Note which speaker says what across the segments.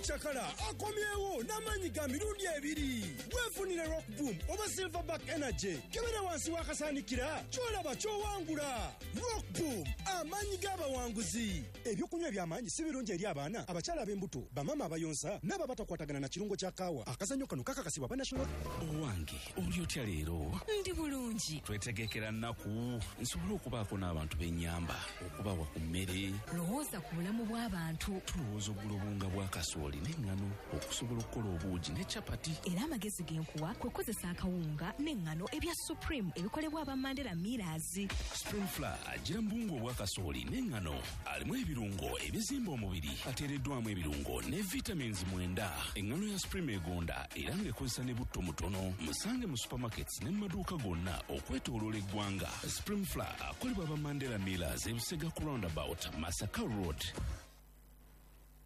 Speaker 1: Omucakala akomyewo n'amaanyi ga mirundi ebiri. Weefunire Rock Boom oba Silverback Energy. Kebera wansi w'akasaanikira ky'olaba ky'owangula. Rock Boom, amaanyi g'abawanguzi. Ebyokunywa eby'amaanyi si birungi eri abaana, abakyala ab'embuto, bamaama abayonsa n'abo abatakwatagana na kirungo kya kaawa. Akazannyo kano kakakasibwa aba National.
Speaker 2: Owange, oli otya leero?
Speaker 3: Ndi bulungi.
Speaker 2: Twetegekera nnaku nsobole okubaako n'abantu b'ennyamba, okubawa ku mmere.
Speaker 3: Lowooza ku bulamu bw'abantu.
Speaker 2: Tulowooza okugula obuwunga bwa kasooli n'eŋŋano okusobola okukola obuugi ne capati.
Speaker 3: Era amagezi ge nkuwa kwe kukozesa akawunga n'eŋŋano ebya Supreme ebikolebwa aba Mandela Millers.
Speaker 2: Supreme Flour agira mu buwunga obwa kasooli n'eŋŋano, alimu ebirungo ebizimba omubiri, ateereddwamu ebirungo ne vitamins 9. Eŋŋano ya Supreme egonda era ng'ekozesa ne butto mutono. Musange mu supermarkets ne mu maduuka gonna okwetooloola eggwanga. Supreme Flour akolebwa aba Mandela Millers, Ebusega ku roundabout, Masaka Road.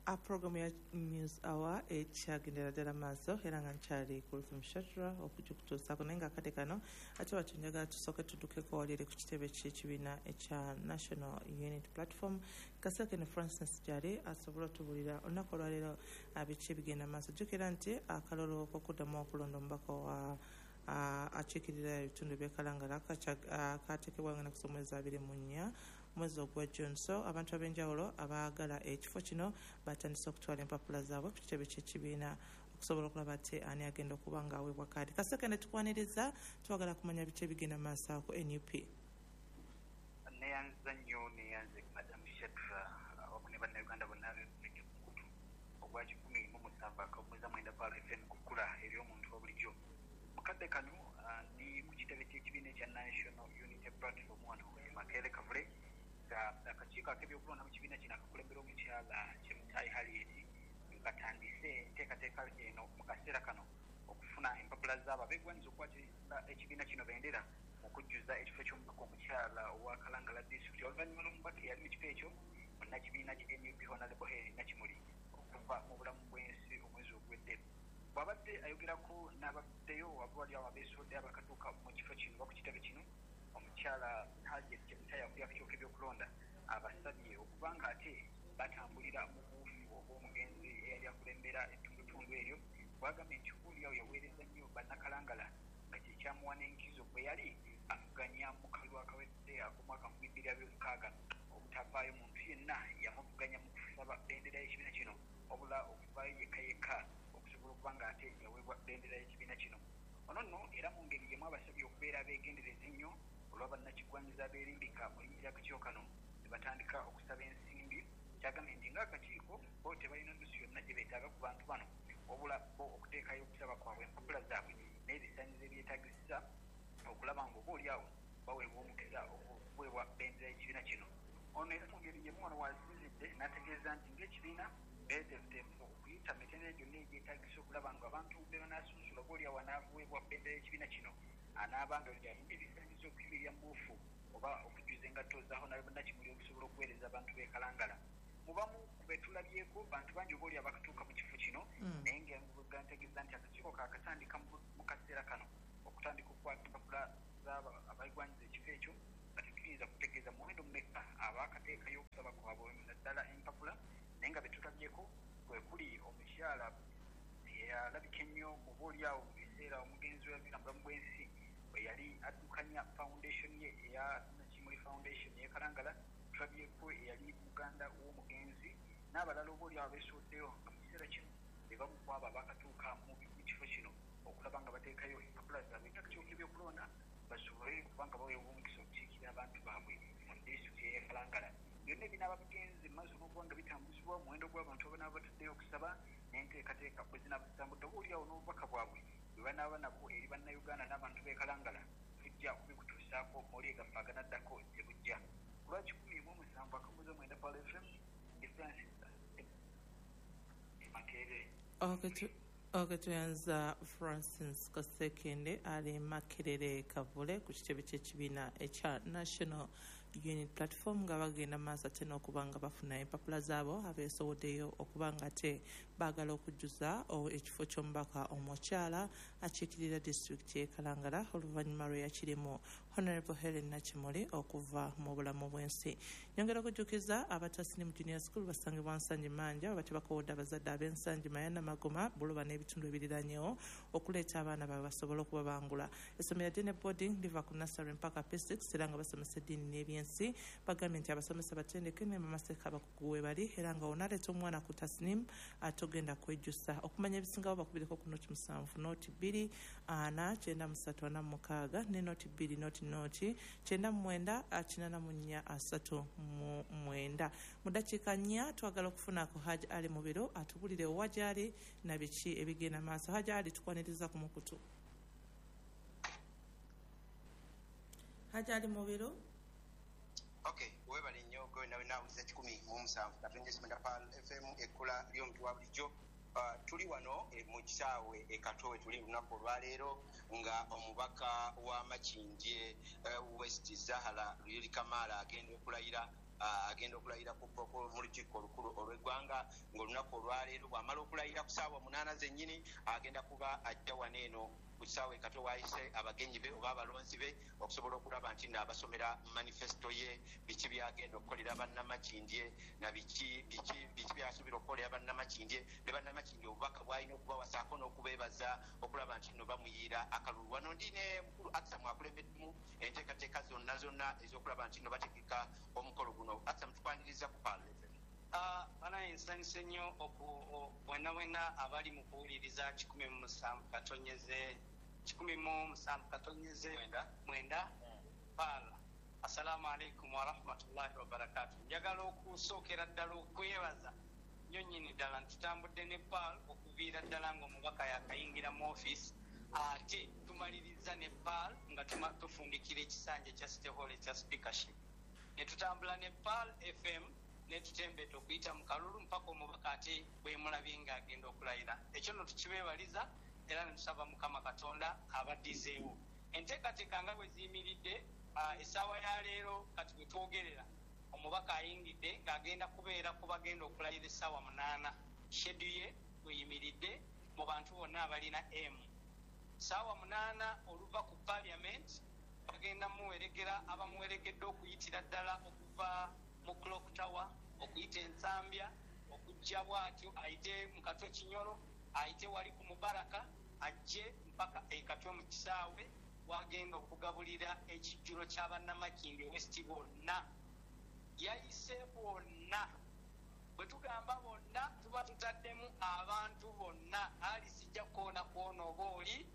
Speaker 4: A programu ya News Hour ekyagendera ddala maaso era nga nkyali ku Ruthum Shatra okugikutuusaako, naye nga akadde kano ate watyo njagala tusooke tuddukeko wali eri ku kitebe ky'ekibiina ekya National Unity Platform. Kasekende Francis gyali asobola otubuulira olunaku olwaleero biki ebigenda maaso. Jjukira nti akalulu k'okuddamu okulonda omubaka wa akiikirira ebitundu by'e Kalangala kateekebwa nga naku z'omwezi 24 mwezi ogwa June. So abantu ab'enjawulo abaagala ekifo kino batandise okutwala empapula zaabwe ku kitebe ky'ekibiina okusobola okulaba ate ani agenda okuba nga aweebwa kaadi. Kasekende, tukwaniriza, twagala kumanya biki ebigenda maaso awo ku NUP.
Speaker 5: Neyanza nnyo, neyanze Madam Shadra awamu ne Bannayuganda bonna abeekuumidde ku mukutu ogwa 107.9 Pearl FM ku kkula ery'omuntu wa bulijjo. Mu kadde kano ndi ku kitebe ky'ekibiina ekya National Unity Platform wano e Makerere Kavule, nga akakiiko ak'ebyokulonda mu kibiina kino akakulembera omukyala Chemutai Harriet katandise enteekateeka eno mu kaseera kano okufuna empapula zaabo abeegwanyiza okukwatira ekibiina kino bendera mu kujjuza ekifo ky'omubaka omukyala owa Kalangala disitulikiti, oluvannyuma lw'omubaka eyali mu kifo ekyo munnakibiina ki NUP Honourable Hellen Nakimuli okuva mu bulamu bw'ensi omwezi oguwedde. Bw'abadde ayogerako n'abavuddeyo oba wali awo abeesowoddeyo abakatuuka mu kifo kino oba ku kitebe kino, omukyala Harriet Chemutai akulira akakiiko k'ebyokulonda abasabye okuba nga ate batambulira mu buufu obw'omugenzi eyali akulembera ettundutundu eryo, bw'agambye nti oba oli awo yaweereza nnyo Bannakalangala nga kye kyamuwa n'enkizo bwe yali avuganya mu kalulu akawedde ak'omwaka 2026 obutavaayo muntu yenna yamuvuganya mu kusaba bendera y'ekibiina kino wabula okuvaayo yekka yekka okusobola okuba nga ate yaweebwa bendera y'ekibiina kino. Ono nno era mu ngeri y'emu abasabye okubeera abeegendereza ennyo olwa bannakigwanyizi abeerimbika mu linnya ly'akakiiko kano ne batandika okusaba ensimbi, ky'agambye nti ng'akakiiko bo tebalina nnusu yonna gye beetaaga ku bantu bano wabula bo okuteekayo okusaba kwabwe, empapula zaabwe n'ebisaanyizo ebyetaagisa okulaba ng'oba oli awo baweebwa omukisa okuweebwa bendera y'ekibiina kino. Ono era mu ngeri y'emu wano w'asinzidde n'ategeeza nti ng'ekibiina beeteefuteefu okuyita mu mitendera gyonna egyetaagisa okulaba ng'abantu be banaasunsula oba oli awo anaaweebwa bendera y'ekibiina kino anaaba nga alina ebisaanyizo okuyimirira mu buufu oba okujjuza engatto za Honourable Nakimuli okusobola okuweereza abantu b'e Kalangala. Mu bamu ku be tulabyeko bantu bangi oba oli abakatuuka mu kifo kino naye nga bwe ntegeeza nti akakiiko kaakatandika mu kaseera kano okutandika okukwata empapula z'abo abeegwanyiza ekifo ekyo, nga tetuyinza kutegeeza muwendo mumeka abaakateekayo okusaba kwabwe naddala empapula, naye nga be tulabyeko kwe kuli omukyala eyalabika ennyo oba oli awo mu biseera omugenzi we yaviira mu bulamu bw'ensi bwe yali addukanya foundation ye eya Nakimuli Foundation ey'e Kalangala. Tulabyeko eyali muganda w'omugenzi n'abalala oba oli awo abeesowoddeyo nga mu kiseera kino be bamu ku abo abaakatuuka mu kifo kino okulaba nga bateekayo empapula zaabwe eri akakiiko k'ebyokulonda basobole okuba nga baweebwa omukisa okukiikirira abantu baabwe mu disitulikiti ey'e Kalangala. Byonna ebinaaba bigenze mu maaso n'okuba nga bitambuzibwa, omuwendo gw'abantu abanaaba bataddeyo okusaba n'enteekateeka bwe zinaaba zitambudde oba oli awo n'obubaka bwabwe bwe banaaba nabwo eri Bannayuganda n'abantu b'e Kalangala tujja kubikutuusaako mu mawulire gaffe aganaddako gye bujja. Ku lwa 107.9 Pearl FM, ndi Francis e Makerere.
Speaker 4: Ok, tweyanza Francis Kasekende ali Makerere Kavule ku kitebe ky'ekibiina ekya National Unity Platform nga bagenda maaso ate n'okuba nga bafuna empapula zaabo abeesowoddeyo okuba nga ate baagala okujjuza ekifo ky'omubaka omukyala akiikirira disitulikiti y'e Kalangala oluvannyuma lwe yakirimu. Honorable Helen Nakimuli okuva mu bulamu bw'ensi. Nyongera okujjukiza abatasinimu Junior School basangibwa Nsangi Manja, oba tebakowodde abazadde ab'Ensangi, Mayana, Magoma, Buloba n'ebitundu ebiriranyewo okuleeta abaana baabwe basobole okubabangula. Essomero lya Dene Boarding liva ku nursery mpaka P6 era nga basomesa eddiini n'ebyensi. Bagambye nti abasomesa batendeke ne bamaseka abakugu we bali, era nga onaaleeta omwana ku Tasnim atogenda kwejjusa. Okumanya ebisingawo bakubireko ku 07 02 4 93 46 ne 02 00 99 84 39. Mu ddakiika 4 twagala okufunako Hajj Ali Mubiru atubulire wa gy'ali na biki ebigenda maaso. Hajj Ali, tukwaniriza ku mukutu. Hajj Ali Mubiru.
Speaker 6: Okay, webale nnyo gwe nawe naawuliza 107.9 Pearl FM, ekkula ly'omuntu wa bulijjo. Tuli wano mu kisaawe e Katwe, tuli lunaku olwaleero nga omubaka wa Makindye West Zahara Luyiri Kamaala agenda okulayira, agenda okulayira mu lukiiko olukulu olw'eggwanga ng'olunaku olwaleero bw'amala okulayira ku ssaawa 8 zennyini agenda kuba ajja wano eno ku kisaawe e Katwe waayise abagenyi be oba abalonzi be okusobola okulaba nti nno abasomera manifesto ye, biki byagenda okukolera bannamakindye na biki byasuubira okukolera bannamakindye ne bannamakindye obubaka bw'alina okubawasaako n'okubeebaza okulaba nti nno bamuyiira akalulu. Wano ndi ne mukulu Aksamu akulembeddemu enteekateeka zonna zonna ez'okulaba nti nno bategeka omukolo guno. Aksamu, tukwaniriza ku Pearl FM.
Speaker 7: Banaye nsanyuse nnyo bwenna bwenna abali mu kuwuliriza 107 107.9 Pearl. Assalamu alaikum warahmatullahi wabarakatuh. Njagala okusookera ddala okwebaza nnyo nnyini ddala nti tutambudde ne Pearl okuviira ddala ng'omubaka yakayingira mu ofiisi, ate tumaliriza ne Pearl nga tufundikira ekisanja ekya City Hall ekya speakership. Ne tutambula ne Pearl FM ne tutembeta okuyita mu kalulu mpaka omubaka ate bwemulabye ng'agenda okulayira. Ekyo nno tukibeebaliza era ne tusaba Mukama Katonda abaddizeewo. Enteekateeka nga bwe ziyimiridde, essaawa ya leero kati bwe twogerera omubaka ayingidde ng'agenda kubeera ku bagenda okulayira essaawa 8. Shedu ye bweyimiridde mu bantu bonna abalina M. Ssaawa 8 oluva ku parliament bagenda muwerekera abamuwerekedde okuyitira ddala okuva mu Clock Tower okuyita Ensambya okujja bw'atyo ayite mu Katwe Kinyoro, ayite wali ku Mubaraka, ajje mpaka e Katwe mu kisaawe wagenda okugabulira ekijjulo ky'abannamakindye West bonna. Yayise bonna. Bwe tugamba bonna tuba tutaddemu abantu bonna. Ali sijja kukoona kwona oba oli,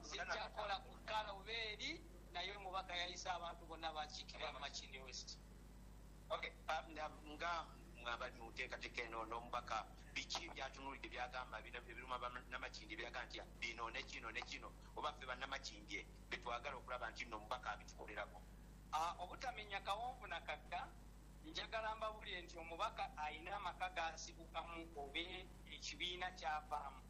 Speaker 7: sijja kukola ku kkala oba eri, naye omubaka yayise abantu bonna bakiikirira Makindye West.
Speaker 6: Okay, nga abali mu nteekateeka eno n'omubaka biki byatunuulidde byagamba ebiruma bannamakindye byaga nti bino ne kino ne kino oba ffe bannamakindye betwagala okulaba nti nno omubaka abitukolerako?
Speaker 7: Obutamenya kawonvu na kakka, njagala mbabulire nti omubaka ayina amaka g'asibukamu oba ekibiina ky'avaamu.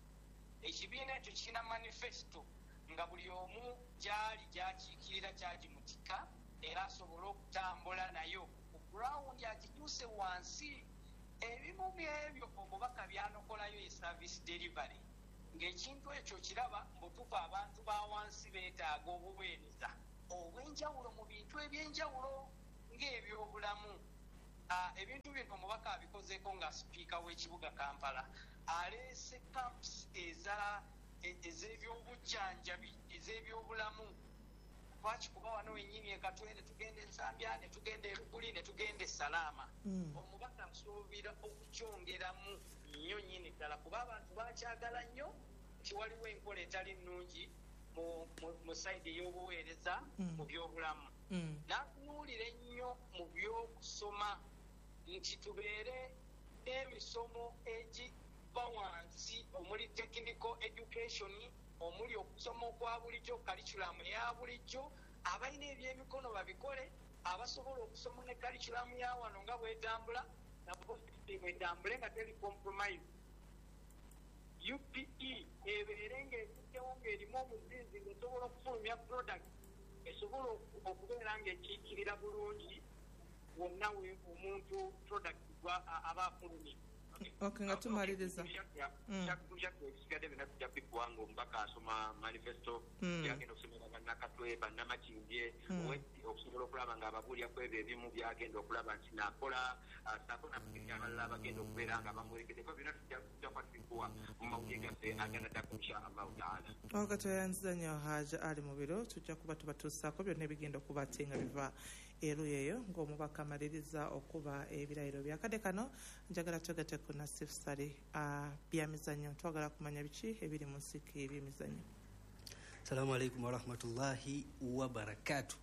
Speaker 7: Ekibiina ekyo kirina manifesto nga buli omu gy'ali gy'akiikirira kyagimutika era asobole okutambula nayo ku ground agikyuse wansi. Ebimu byebyo omubaka byanokolayo ye service delivery, ng'ekintu ekyo kiraba mbutuufu abantu ba wansi beetaaga obuweereza obw'enjawulo mu bintu eby'enjawulo ng'ebyobulamu. Ebintu bino omubaka abikozeeko nga sipiika w'ekibuga Kampala, aleese camps ez'ebyobujjanjabi ez'ebyobulamu. Lwaki kuba wano wennyini e Katwe ne tugenda Ensambya ne tugenda e Luguli ne tugenda e Salaama. Omubaka nsuubira okukyongeramu nnyo nnyini ddala kuba abantu bakyagala nnyo nti waliwo enkola etali nnungi mu sayidi ey'obuweereza mu byobulamu. N'atunuulira ennyo mu by'okusoma nti tubeere n'emisomo egiva wansi omuli technical education, omuli okusoma okwa bulijjo, curriculum eya bulijjo, abalina ebyemikono babikole, abasobola okusoma ne curriculum ya wano nga bwetambula nabo bwetambule nga teri compromise. UPE ebeere ng'etuddewo ng'erimu omuzinzi ng'esobola okufulumya product esobola okubeera ng'ekiikirira bulungi wonna we omuntu product aba afulumye.
Speaker 4: Okay, nga tumaliriza.
Speaker 6: Ebisigadde byonna tujja kubikuwa ng'omubaka asoma manifesto byagenda okusomera bannakatwe, bannamakindye, okusobola okulaba nga ababuulira ku ebyo ebimu byagenda okulaba nti nakola, saako nabagezi abalala abagenda okubeera nga bamuwerekeddeko. Byonna tujja kuba tubikuwa mu mawulire gaffe aganaddako insha Allahu taala.
Speaker 4: Okay, tweyanziza nnyo Haji Ali Mubiro. Tujja kuba tubatuusaako byonna ebigenda okuba ate nga biva eruuyi eyo ng'omubaka amaliriza okuba ebirayiro. Byakadde kano njagala twegatte ku Nasif Sali, byamizannyo. Twagala kumanya biki ebiri mu nsiki ebyemizannyo.
Speaker 8: Salamu alaikum warahmatullahi wabarakatu.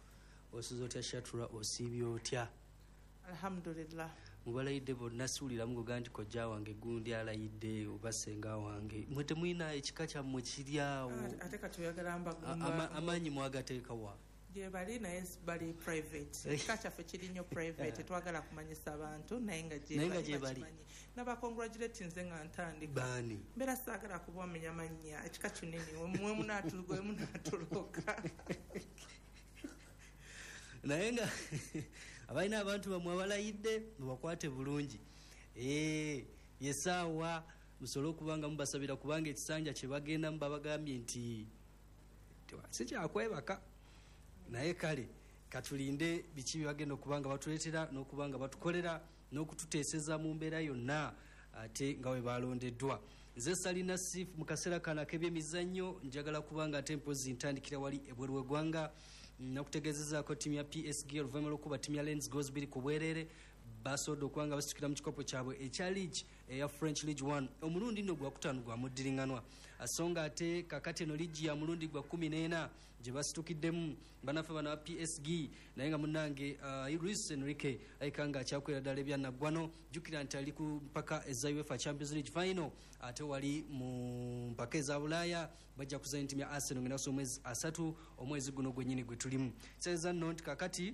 Speaker 8: Osuza otya Shatura, osiibye otya?
Speaker 4: Alhamdulillah.
Speaker 8: Mubalayidde bonna, siwuliramu goga nti kojja wange gundi alayidde oba senga wange. Mwe temulina ekika kyammwe kiri awo?
Speaker 4: Ate kati oyagala
Speaker 8: Amaanyi mwagateekawa?
Speaker 4: Gye bali, naye bali private. Ekika kyaffe kiri nnyo private, twagala kumanyisa abantu, naye nga
Speaker 8: Naye nga gye bali.
Speaker 4: bakimanyi. Nabacongratulate nze nga ntandika.
Speaker 8: Baani?
Speaker 4: Mbeera saagala kubamenya mannya, ekika kinene, mwe munaatuloka.
Speaker 8: Naye nga abalina abantu bamwe abalayidde mubakwate bulungi. Yesaawa musobole okuba nga mubasabira, kubanga ekisanja kye bagendamu babagambye nti si kyakwebaka. Naye kale katulinde biki byebagenda okuba nga batuleetera n'okuba nga batukolera n'okututeeseza mu mbeera yonna ate nga bwe balondeddwa. Nze Salina Sif. Mu kaseera kano ak'ebyemizannyo njagala kubanga ate mpozi ntandikira wali ebweru w'eggwanga. Nakutegeezezaako ttiimu ya PSG oluvannyuma lw'okuba ttiimu ya Lens goals 2-0, basobodde okuba nga basitukira mu kikopo kyabwe ekya league eya French League 1, omulundi nno gwakutaano gwa muddiriŋŋanwa. So nga ate kakati eno liigi ya mulundi gwa 14 gye basitukiddemu banaffe bano ba PSG. Naye nga munnange Luis Enrique ayika nga akyakwera ddala ebyanaggwano. Jjukira nti ali ku mpaka eza UEFA Champions League final, ate wali mu mpaka eza Bulaaya bajja kuzanya ttiimu ya Arsenal ng'enaku omwezi 30 omwezi guno gwennyini gwe tulimu. Kitegeeza nno nti kakati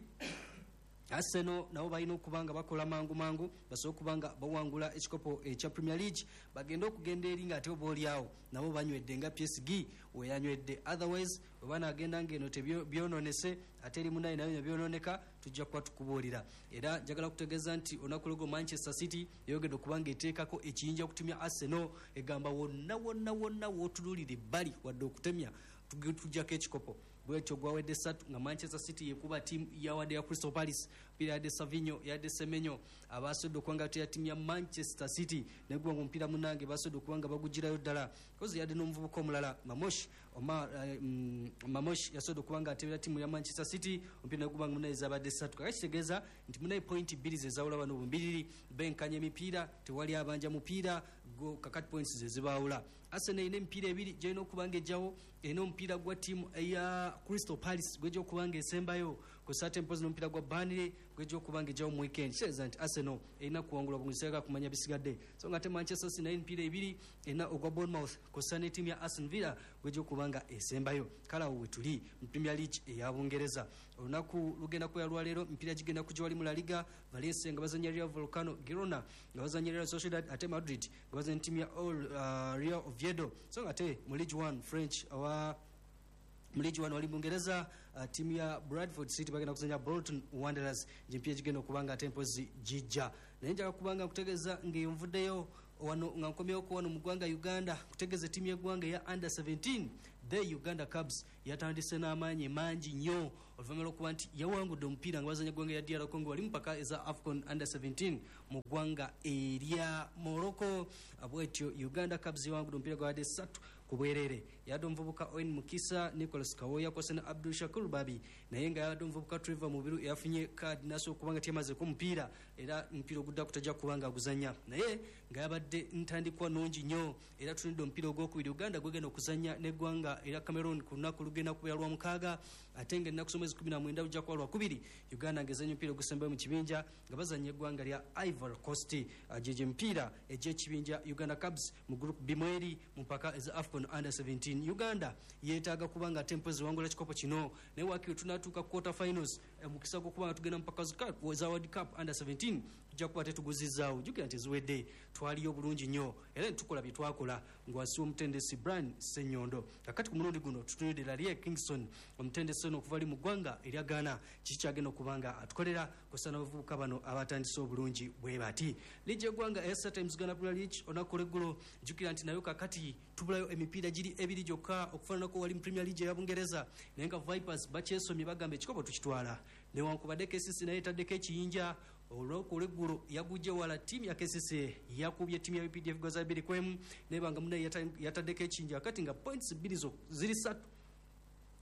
Speaker 8: Arsenal nabo balina okuba nga bakola mangu mangu basobole okuba nga bawangula ekikopo ekya Premier League, bagende okugenda eri nga ate oba oliawo nabo banywedde nga PSG weyanywedde. Otherwise bwe banaagenda ng'eno tebyononese ate eri munaye nayo nebyononeka, tujja kuba tukubuulira. Era njagala kutegeeza nti olunaku lwego Manchester City yayogedde okuba nga eteekako ekiyinja okutumya Arsenal, egamba wonna wonna wonna wootunuulira ebbali wadde okutemya tujjako ekikopo. Bwetyo gwawedde 3 nga Manchester City yekuba tiimu yawadde ya Crystal Palace mpira, yadde Savinho, yadde Semenyo abasobodde okuba nga teya ttiimu ya Manchester City, naye guba nga omupiira munange basobodde okuba nga bagugirayo ddala kozi yadde n'omuvubuka omulala Mamosh Omar, Mamosh yasobodde okuba nga atebera ttiimu ya Manchester City omupiira, naye guba nga munaye zabadde 3. Kakati kitegeeza nti munaye pointi 2 zezawula bano bumbiriri, benkanya emipiira, tewali abanja mupiira go. Kakati points ze zibaawula. Arsenal erina emipiira ebiri gyerina okuba nga ejjawo, erina omupiira gwa ttiimu eya Crystal Palace gwejja okuba nga esembayo ku mpozi n'omupiira gwa Burnley gwejja okuba nga ejjawo mu weekend. Kitegeeza nti Arsenal erina kuwangula bulungi kumanya bisigadde. So nga ate Manchester City nayo emipiira ebiri erina, ogwa Bournemouth kw'ossa ne ttiimu ya Aston Villa gwejja okuba nga esembayo. Kale awo wetuli mu Premier League eya Bungereza. Olunaku lugenda kubeera lwaleero, emipiira gigenda kujja wali mu La Liga, Valencia nga bazanya Real Volcano, Girona nga bazanya Real Sociedad, ate Madrid nga bazanya ttiimu ya Real Oviedo. So nga ate mu League 1 French owa mu League 1 wali Bungereza, ttiimu ya Bradford City bagenda kuzanya Bolton Wanderers, gyempiira gigenda okuba nga ate mpozi gijja. Naye njagala kubanga nkutegeeza ng'eyo nvuddeyo wano nga nkomyewoko wano mu ggwanga Uganda, kutegeeza ttiimu y'eggwanga eya under 17, the Uganda Cubs, yatandise n'amaanyi mangi nnyo oluvannyuma lw'okuba nti yawangudde omupiira nga bazanya eggwanga erya DR Congo wali mupaka eza AFCON under 17 mu ggwanga erya Morocco. Bwetyo Uganda Cubs yawangudde omupiira gwabadde 3-0. Yadde omuvubuka Owen Mukisa, Nicholas Kawoya kwose ne Abdul Shakur Babi, naye nga yadde omuvubuka Trevor Mubiru yafunye kaadi nasobola okuba nga teyamazeko omupiira, era omupiira oguddako tajja kuba nga aguzanya. Naye nga yabadde ntandikwa nungi nnyo, era tunidde omupiira ogwokubiri Uganda gwegenda okuzanya n'eggwanga era Cameroon ku lunaku lugenda kubeera lwa 6, ate nga ennaku z'omwezi 19 lujja kuba lwakubiri Uganda ng'ezanya omupiira ogusembayo mu kibinja nga bazanya eggwanga lya Ivory Coast. Gyegyo emipiira egy'ekibinja Uganda Cubs mu Group B mweri mu mpaka eza AFCON under 17. Uganda yeetaaga kuba nga ate mpozi wangula kikopo kino, naye wakiri tunatuuka quarter finals, mukisa gw'okuba nga tugenda mu mpaka za World Cup under 17 tujja kuba tetuguzizaawo. Jjukira nti eziwedde twaliyo bulungi nnyo era netukola bye twakola ng'wasi w'omutendesi Brian Ssenyondo. Kakati Kakati ku mulundi guno tutunulidde Laryea Kingston, omutendesi ono okuva ali mu ggwanga erya Ghana, kiki kyagenda okuba nga atukolera kusa n'abavubuka bano abatandise obulungi bwe bati. Liigi y'eggwanga eya StarTimes Uganda Premier League olunaku olweggulo, jjukira nti nayo kakati tubulayo emipiira giri ebiri gyokka okufaananako wali mu Premier League eya Bungereza, naye nga Vipers bakyesomye, bagamba ekikopo tukitwala, newankubadde KCC naye etaddeko ekiyinja. Olunaku olweggulo yagujje wala ttiimu ya KCC, yakubye ttiimu ya UPDF goza 2-1, naye banga munaye yataddeko ekiyinja kati nga points 2 ziri 3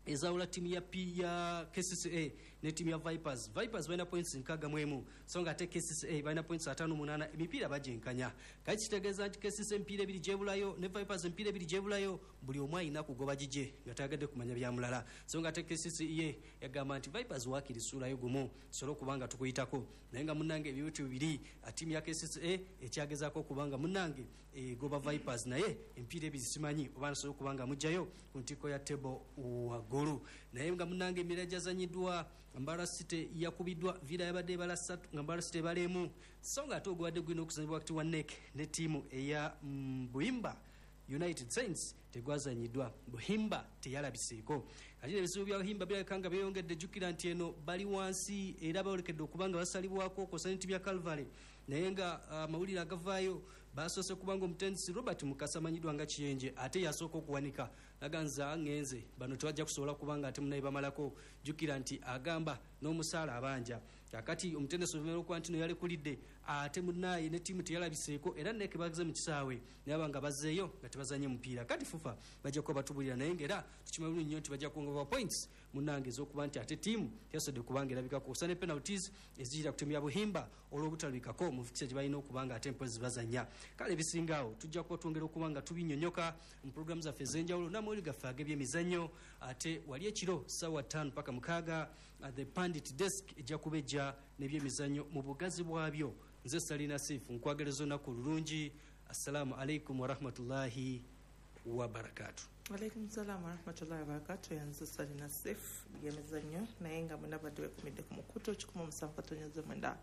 Speaker 8: ezawula ttiimu ya P ya KCCA ne ttiimu ya Vipers. Vipers balina points 61, so nga ate KCCA balina points 58, emipiira bagyenkanya. Kati kitegeeza nti KCCA emipiira ebiri gyebulayo ne Vipers emipiira ebiri gyebulayo, buli omu alina kugoba gigye nga tayagadde kumanya bya mulala. So nga ate KCCA yagamba nti Vipers waakiri suulayo gumu tusobole okuba nga tukuyitako, naye nga munnange ebibuti bibiri ttiimu ya KCCA ekyagezaako okuba nga munnange egoba Vipers, naye emipiira ebiri simanyi oba nasobola okuba nga mugjayo ku ntikko ya table waggulu. Naye nga munnange emipiira gyazanyiddwa, Mbarara City yakubiddwa Villa, yabadde ebala 3 nga Mbarara City ebala 1, so nga ate ogubadde gulina okuzanyibwa wakati wa NEC ne ttiimu eya Buhimba United Saints tegwazanyiddwa, Buhimba teyalabiseeko. Kati ebizibu bya Buhimba birabika nga byeyongedde, jjukira nti eno bali wansi era bayolekedde okuba nga basalibwako okwosa ne ttiimu ya Calvary, naye nga amawulire agavaayo basoose kubanga omutendesi Robert Mukasa amanyiddwa nga Kiyenje ate yasooka okuwanika naganza ngenze, bano tebajja kusobola kubanga ate munaye bamalako, jjukira nti agamba n'omusaala abanja. Kakati omutendesi oluvannyuma lw'okuba nti no yalekulidde ate munaaye ne ttiimu teyalabiseeko, era NEC bagenze mu kisaawe naye aba nga bazzeeyo nga tebazanye mupiira. Kati FUFA bajja kuba batubulira, naye ng'era tukimanyi bulungi nnyo nti bajja kwongera points munnange ez'okuba nti ate ttiimu teyasobodde kubanga erabikako okusa ne penalties eziyira ku ttiimu ya Buhimba olw'obutalabikako mu fikisa gye balina okuba nga ate mpozi bazannya. Kale ebisinga awo tujja kuba twongera okuba nga tubinyonyoka mu pulogulaamu zaffe ez'enjawulo n'amawulire gaffe ag'ebyemizannyo. Ate wali ekiro ssaawa 5 paka 6, the Pandit Desk ejja kuba ejja n'ebyemizannyo mu bugazi bwabyo. Nze Salina Sifu, nkwagaliza olunaku olulungi. Assalamu alaikum warahmatullahi wabarakatu.
Speaker 4: Alaikum salam warahmatullahi wabarakatu. Yanze Salina Sif byemizannyo, naye nga mwena badde bekumidde ku mukutu 107.9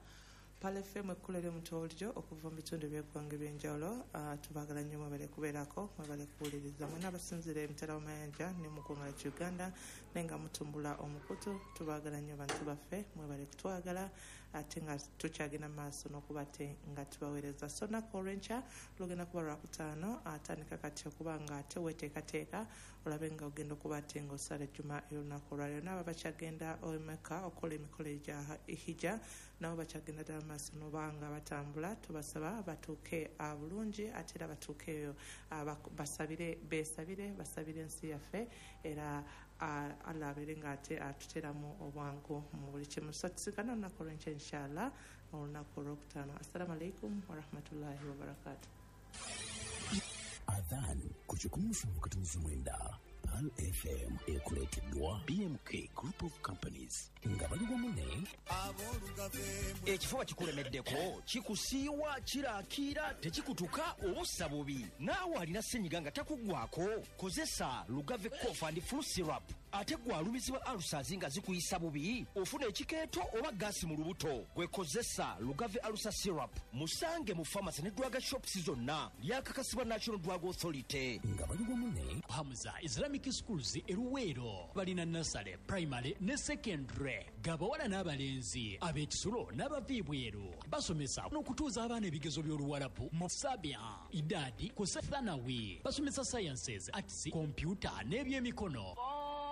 Speaker 4: Pearl FM, ekkula ly'omuntu bulijjo okuva mu bitundu by'eggwanga ebyenjawulo. Tubaagala nnyo, mwebale kubeerako, mwebale kuwuliriza mwena abasinziira emitala w'amayanja ne mu ggwanga lyaffe Uganda, naye nga mutumbula omukutu. Tubaagala nnyo bantu baffe, mwebale kutwagala ate nga tukyagenda maaso n'okuba ate nga tubaweereza. So olunaku olw'enkya lugenda kuba Lwakutaano, atandika kati okuba nga ate weteekateeka olabe nga ogenda okuba ate ng'osala ejjuma ey'olunaku olwaleero. N'abo bakyagenda e Mecca okukola emikolo egya hijja, nabo bakyagenda ddala maaso noba nga batambula, tubasaba batuuke bulungi, ate era batuuke eyo basabire, beesabire, basabire ensi yaffe, era Allah abeere nga ate atuteramu obwangu mu buli kimu. So tusinkane olunaku olw'enkya inshallah, olunaku olwokutaano. Assalamu alaikum warahmatullahi wabarakatu.
Speaker 2: Adhan ku 107.9 Pearl FM ekuleeteddwa BMK Group of Companies nga bali wamu ne
Speaker 9: Ekifuba kikulemeddeko, kikusiiwa, kirakiira, tekikutuka, obussa bubi, naawe alina senyiga nga takuggwako, kozesa Lugave Cough and Flu Syrup. Ate gwe alumizibwa ulcers nga zikuyisa bubi, ofuna ekikeeto oba gaasi mu lubuto, gwe kozesa Lugave Ulcer Syrup. Musange mu pharmacy ne drug shops zonna. Lyakakasibwa National Drug Authority.
Speaker 2: Nga bali wamu ne
Speaker 10: Hamza Islamic Schools eruweero balina nursery, primary ne secondary, gabawala n'abalenzi, ab'ekisulo n'abava ebweru. Basomesa n'okutuuza abaana ebigezo by'Oluwarabu mu sabia, idadi ku thanawi. Basomesa sciences, arts, kompyuta n'ebyemikono.